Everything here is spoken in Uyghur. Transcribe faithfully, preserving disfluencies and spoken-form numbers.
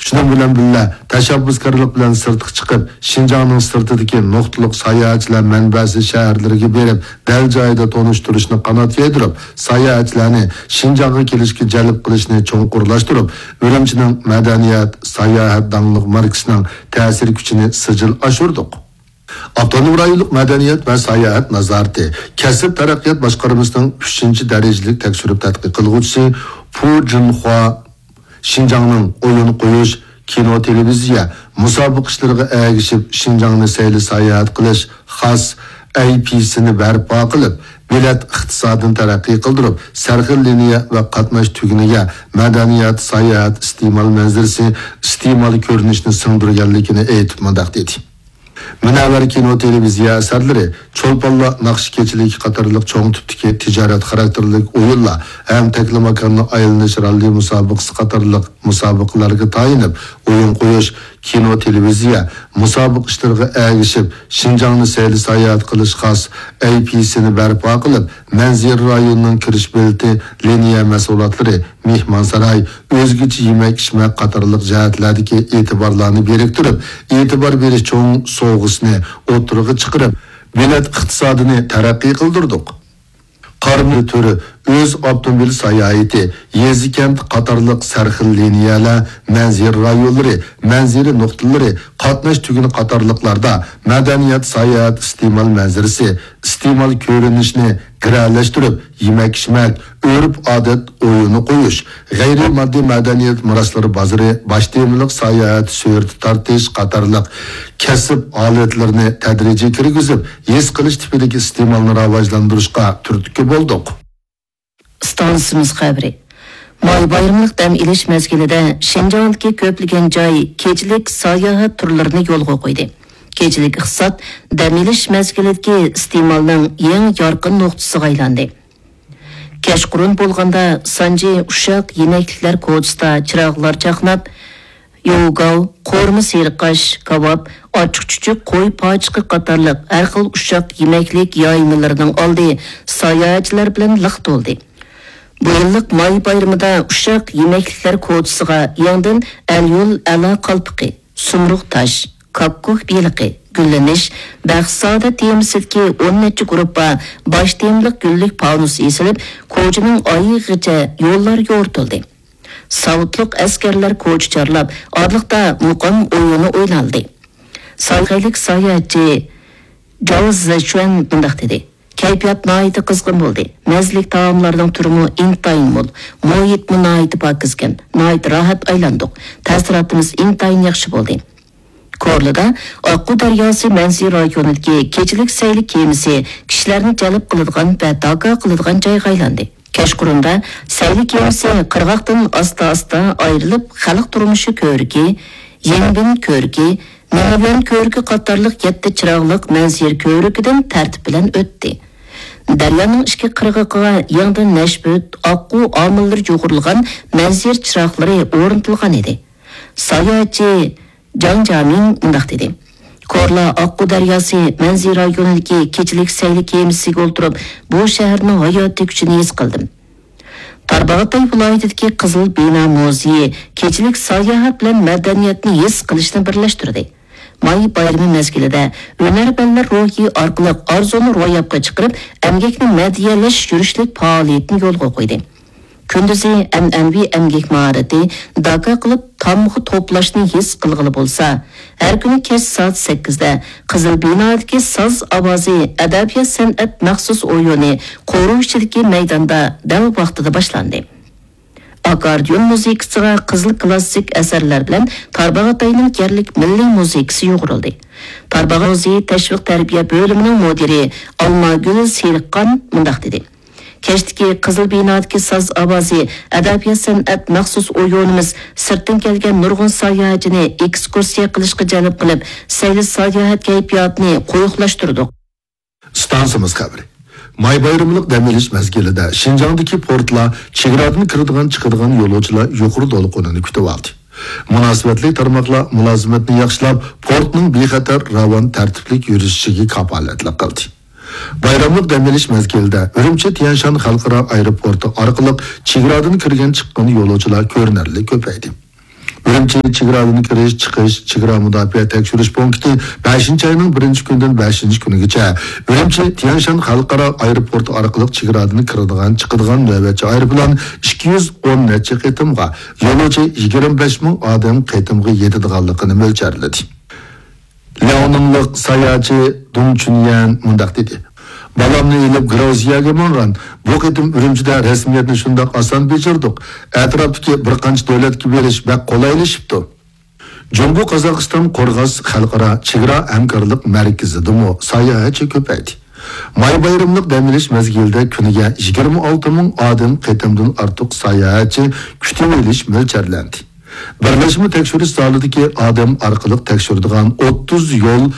شۇنىڭ بىلەن بىللە، تەشەببۇسكارلىق بىلەن سىرتقا چىقىپ، شىنجاڭنىڭ سىرتىدىكى نۇقتىلىق ساياھەتچىلەر مەنبەسى شەھەرلىرىگە بېرىپ، دەل جايىدا تونۇشتۇرۇشنى قانات يايدۇرۇپ، ساياھەتچىلەرنى شىنجاڭغا كېلىشكە جەلپ قىلىشنى چوڭقۇرلاشتۇرۇپ، ئۈرۈمچىنىڭ مەدەنىيەت، ساياھەت داڭلىق ماركىسىنىڭ تەسىر كۈچىنى سىجىل ئاشۇردۇق. ئاپتونوم رايونلۇق مەدەنىيەت ۋە ساياھەت نازارىتى كەسىپ تەرەققىيات باشقارمىسىنىڭ ئۈچىنچى دەرىجىلىك تەكشۈرۈپ تەتقىق قىلغۇچىسى پۇ جىنخۇا شىنجاڭنىڭ ئويۇن قويۇش، كىنو، تېلېۋىزىيە، مۇسابىقە ئىشلىرىغا ئەگىشىپ، شىنجاڭنى سەيلە ساياھەت قىلىش خاس ئەي پى سىنى بەرپا قىلىپ، بېلەت ئىقتىسادىنى تەرەققىي قىلدۇرۇپ، سەرخىل لىنىيە ۋە قاتناش تۈگۈنىگە مەدەنىيەت، ساياھەت، ئىستېمال مەنزىرىسى، ئىستېمال كۆرۈنۈشىنى سىڭدۈرگەنلىكىنى ئېيتىپ، مۇنداق دېدى. مۇنەۋۋەر كىنو، تېلېۋىزىيە ئەسەرلىرى، چولپانلار ناخشا كېچىلىكى قاتارلىق چوڭ تىپتىكى تىجارەت خاراكتېرلىك ئويۇنلار ھەم تەكلىماكاننى ئايلىنىش راللى مۇسابىقىسى قاتارلىق مۇسابىقىلەرگە تايىنىپ، ئويۇن قويۇش، كىنو، تېلېۋىزىيە، مۇسابىقە ئىشلىرىغا ئەگىشىپ، شىنجاڭنى سەيلە ساياھەت قىلىش خاس ئەي پى سىنى بەرپا قىلىپ، مەنزىرە رايونىنىڭ كىرىش بېلىتى، لىنىيە مەھسۇلاتلىرى، مېھمانساراي، ئۆزگىچە يېمەك-ئىچمەك قاتارلىق جەھەتلەردىكى ئېتىبارلارنى بىرىكتۈرۈپ، ئېتىبار بېرىش چوڭ سوۋغىسىنى ئوتتۇرىغا چىقىرىپ، بېلەت ئىقتىسادىنى تەرەققىي قىلدۇردۇق. قارمۇ تۈرى، ئۆز ئاپتوموبىل ساياھىتى، يېزا-كەنت قاتارلىق سەرخىل لىنىيەلەر، مەنزىرە رايونلىرى، مەنزىرە نۇقتىلىرى، قاتناش تۈگۈنى قاتارلىقلاردا مەدەنىيەت، ساياھەت، ئىستېمال مەنزىرىسى، ئىستېمال كۆرۈنۈشىنى گىرەلەشتۈرۈپ، يېمەك-ئىچمەك، ئۆرپ-ئادەت ئويۇنى قويۇش، غەيرىي ماددىي مەدەنىيەت مىراسلىرى بازىرى، باش تېمىلىق ساياھەت سۈرىتى تارتىش قاتارلىق كەسىپ ھالەتلىرىنى تەدرىجىي كىرگۈزۈپ، ھېس قىلىش تىپىدىكى ئىستېمالنى راۋاجلاندۇرۇشقا تۈرتكە بولدۇق. ئىستانسىمىز خەۋىرى. ماي بايرىملىق دەم ئېلىش مەزگىلىدە شىنجاڭدىكى كۆپلىگەن جاي كېچىلىك ساياھەت تۈرلىرىنى يولغا قويدى. كېچىلىك ئىقتىساد دەم ئېلىش مەزگىلىدىكى ئىستېمالنىڭ يېڭى يارقىن نۇقتىسىغا ئايلاندى. كەچقۇرۇن بولغاندا سانجى ئۇششاق يېمەكلىكلەر كوچىسىدا چىراغلار چاقناپ، يوۋگاۋ، قورۇما سېرىقاش، كاۋاپ، ئاچچىق-چۈچۈك، قوي پاچىقى قاتارلىق ھەر خىل ئۇششاق يېمەكلىك يايمىلىرىنىڭ ئالدى ساياھەتچىلەر بىلەن لىق تولدى. بۇ يىللىق ماي بايرىمىدا ئۇششاق يېمەكلىكلەر كوچىسىغا يېڭىدىن ئەليول ئەلا قالپىقى، سۇمرۇغ تاش، كاككۇك بېلىقى، گۈللىنىش، بەختسادە تېمىسىدىكى ئون نەچچە گۇرۇپپا باش تېمىلىق گۈللۈك پانۇس ئېسىلىپ، كوچىنىڭ ئايىغىغىچە يوللار يورۇتۇلدى. ساۋۇتلۇق ئەسكەرلەر كوچا چارلاپ، ئارىلىقتا مۇقام ئويۇنى ئوينالدى. سايخەيلىك ساياھەتچى جاۋ زېچۈەن مۇنداق دېدى: كەيپىيات ناھايىتى قىزغىن بولدى. مەززىلىك تائاملارنىڭ تۈرىمۇ ئىنتايىن مول، مۇھىتمۇ ناھايىتى پاكىزكەن، ناھايىتى راھەت ئايلاندۇق. تەسىراتىمىز ئىنتايىن ياخشى بولدى. كورلىدا ئاققۇ دەرياسى مەنزىرە رايونىدىكى كېچىلىك سەيلە كېمىسى كىشىلەرنى جەلپ قىلىدىغان ۋە داكا قىلىدىغان جايغا ئايلاندى. كەچقۇرۇندا سەيلە كېمىسى قىرغاقتىن ئاستا-ئاستا ئايرىلىپ، خەلق تۇرمۇشى كۆۋرۈكى، يىڭبىن كۆۋرۈكى، مىڭيۈەن كۆۋرۈكى قاتارلىق يەتتە چىراغلىق مەنزىرە كۆۋرۈكىدىن تەرتىپ بىلەن ئۆتتى. دەريانىڭ ئىككى قىرغىقىغا يېڭىدىن نەشپۈت، ئاققۇ ئامىللىرى يۇغۇرۇلغان مەنزىرە چىراغلىرى ئورنىتىلغان ئىدى. ساياھەتچى جاڭ جامىڭ مۇنداق دېدى: كورلا ئاققۇ دەرياسى مەنزىرە رايونىدىكى كېچىلىك سەيلە كېمىسىگە ئولتۇرۇپ، بۇ شەھەرنىڭ ھاياتىي كۈچىنى ھېس قىلدىم. تارباغاتاي ۋىلايىتىدىكى قىزىل بىنا مۇزېيى كېچىلىك ساياھەت بىلەن مەدەنىيەتنى ھېس قىلىشنى بىرلەشتۈردى. ماي بايرىمى مەزگىلىدە ھۈنەرۋەنلەر روھى ئارقىلىق ئارزۇنى روياپقا چىقىرىپ، ئەمگەكنى مەدھىيەلەش يۈرۈشلۈك پائالىيىتىنى يولغا قويدى. كۈندۈزى ئەنئەنىۋى ئەمگەك ماھارىتى، داكا قىلىپ تامغا توپلاشنى ھېس قىلغىلى بولسا، ھەر كۈنى كەچ سائەت سەككىزدە قىزىل بىنادىكى ساز ئاۋازى ئەدەبىيات سەنئەت مەخسۇس ئويۇنى قورۇ ئىچىدىكى مەيداندا دەل ۋاقتىدا باشلاندى. ئاككوردىيون مۇزىكىسىغا قىزىل كىلاسسىك ئەسەرلەر بىلەن تارباغاتاينىڭ يەرلىك مىللىي مۇزىكىسى يۇغۇرۇلدى. تارباغاتاي مۇزېيى تەشۋىق تەربىيە بۆلۈمىنىڭ مۇدىرى ئالماگۈل سېرىقخان مۇنداق دېدى: كەچتىكى قىزىل بىنادىكى ساز ئاۋازى، ئەدەبىيات سەنئەت مەخسۇس ئويۇنىمىز سىرتتىن كەلگەن نۇرغۇن ساياھەتچىنى ئېكسكۇرسىيە قىلىشقا جەلپ قىلىپ، سەيلە ساياھەت كەيپىياتىنى قويۇقلاشتۇردۇق. ئىستانسىمىز خەۋىرى. ماي بايرىملىق دەم ئېلىش مەزگىلىدە شىنجاڭدىكى پورتلار چېگرادىن كىرىدىغان، چىقىدىغان يولۇچىلار يۇقىرى دولقۇنىنى كۈتۈۋالدى. مۇناسىۋەتلىك تارماقلار مۇلازىمەتنى ياخشىلاپ، پورتنىڭ بىخەتەر، راۋان، تەرتىپلىك يۈرۈشۈشىگە كاپالەتلىك قىلدى. بايراملىق دەم ئېلىش مەزگىلىدە ئۈرۈمچى تيەنشان خەلقئارا ئايروپورتى ئارقىلىق چېگرادىن كىرگەن، چىققان يولۇچىلار كۆرۈنەرلىك كۆپەيدى. ئۈرۈمچى چېگرادىن كىرىش، چىقىش، چېگرا مۇداپىئە تەكشۈرۈش پونكىتى بەشىنچى ئاينىڭ بىرىنچى كۈنىدىن بەشىنچى كۈنىگىچە ئۈرۈمچى تيەنشان خەلقئارا ئايروپورتى ئارقىلىق چېگرادىن كىرىدىغان، چىقىدىغان نۆۋەتچى ئايروپىلان ئىككى يۈز ئون نەچچە قېتىمغا، يولۇچى يىگىرمە بەش مىڭ ئادەم قېتىمغا يېتىدىغانلىقىنى مۆلچەرلىدى. لياۋنىڭلىق ساياھەتچى دۇڭ چۈنيەن مۇنداق دېدى: بالامنى ئېلىپ گرۇزىيەگە ماڭغان. بۇ قېتىم ئۈرۈمچىدە رەسمىيەتنى شۇنداق ئاسان بېجىردۇق. ئەتراپتىكى بىر قانچە دۆلەتكە بېرىش بەك قولايلىشىپتۇ. جۇڭگو قازاقىستان قورغاس خەلقئارا چېگرا ھەمكارلىق مەركىزىدىمۇ ساياھەتچى كۆپەيدى. ماي بايرىملىق دەم ئېلىش مەزگىلىدە كۈنىگە يىگىرمە ئالتە مىڭ ئادەم قېتىمدىن ئارتۇق ساياھەتچى كۈتۈۋېلىش مۆلچەرلەندى. بىرلەشمە تەكشۈرۈش زالىدىكى ئادەم ئارقىلىق تەكشۈرىدىغان ئوتتۇز يول